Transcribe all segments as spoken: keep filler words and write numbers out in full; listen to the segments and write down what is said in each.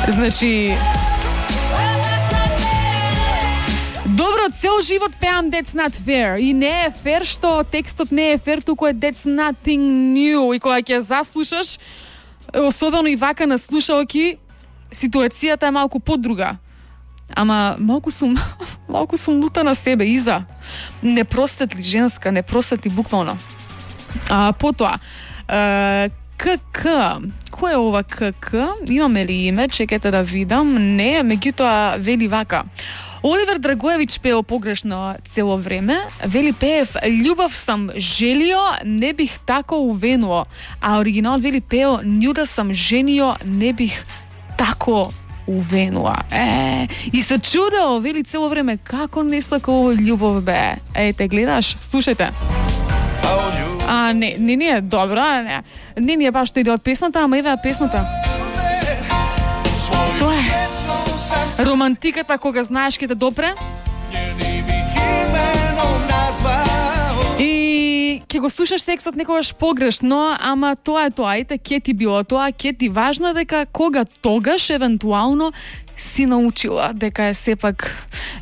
Значи добро, цел живот пеам That's Not Fair и не е фер што текстот не е фер, туку е That's Nothing New и кога ќе заслушаш, особено и вака на слушалки, ситуацијата е малку подруга. Ама малку сум малку сум лута на себе, Иза. Не просветли женска, не просветли буквално. А потоа, е, КК. Кој е ова КК? Имаме ли име? Чекайте да видам. Не, меѓутоа вели вака. Оливер Драгоевич пеел погрешно цело време. Вели пеев љубов сам желио, не бих тако увенуо. А оригиналот вели пеел њуда сам женио, не бих тако увенуа. Е, и се чудел, вели цело време, како не слака ово љубов бе. Ејте, гледаш, слушајте. А, не, не, не е добра, не, не ни е баш тој дел од песната, ама еве песната. Тоа е романтиката кога знаеш ке те допре. И ќе го слушаш текстот некогаш погрешно, ама тоа е тоа, ете, ке ти било тоа, ке ти важно дека кога тогаш, евентуално, си научила дека е сепак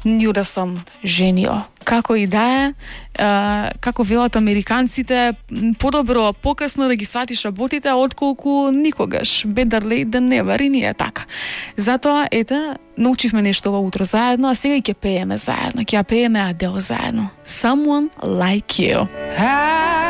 њуда сам женио. Како и да е, како велат американците, подобро покасно да ги сватиш работите, отколку никогаш. Better late than never, и ние така. Затоа, ете, научивме нешто ова утро заедно, а сега и ќе пееме заедно. Ќе ја пееме Адел заедно. Someone Like You.